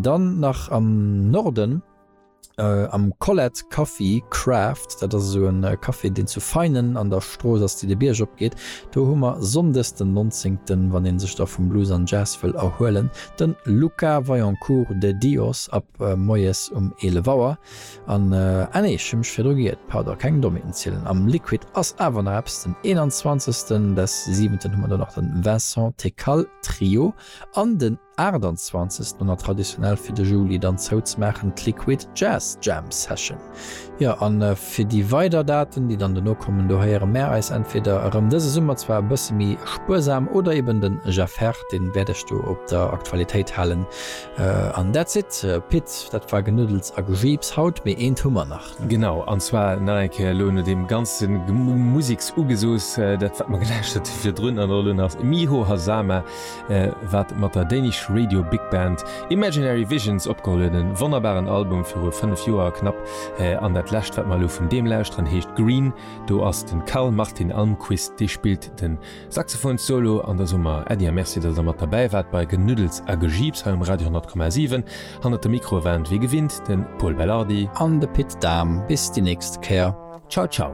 Dann nach am Norden, am Colette Coffee Craft, dat ass esou e Café, deen zu Veinen an der Strooss ass, déi de Bierg op geet. Do hu mer sonndes den 19., wann ee sech da vum Blues an Jazz wëll erhuelen, de Luca Vaillancourt de Dios ab moies um 11 Auer. An, ah nee, ech hu mech virdru geiert, pardon, keng Dommheeten zielen, am Liquid ass awer nach eppes, den 21. des siwenten hu mer do nach den Vincent Tecal Trio an den 28. An traditionell fir de Juli dann zouzemaachen d'Liquid Jazz Jam Session. Jo, an fir déi weider Daten, déi dann dono kommen, do héiere mär eis entweder erëm dëse Summer, zwar e bësse méi spuersam, oder eben den Jeff Herr, deen wäert ech do op der Aktualitéit halen. An that's it, Pit, dat war Genuddels a Gejiips haut, mee eent hu mer nach. Genau, an zwar nach eng Kéier elo no deem ganze Museksugezooss, dat wat mer gelauschtert hu virdrun an och elo nach Miho Hazama, wat mat der Danish Radio Big Band Imaginary Visions opgeholl huet, e wonnerbaren Album viru 5 Joer knapp. An dat lescht wat mer elo vun deem lauschteren heescht Green, do ass de Carl Martin Almquist, dee spillt de Saxophonssolo. An da soe mer Äddi a Merci, datt der mat derbäi waart bei Genuddels a Gejiips hei um Radio 10,7. Hannert dem Mikro waren wéi gewinnt de Pol Belardi. An de Pit Dahm. Bis déi nächst Kéier. Ciao ciao.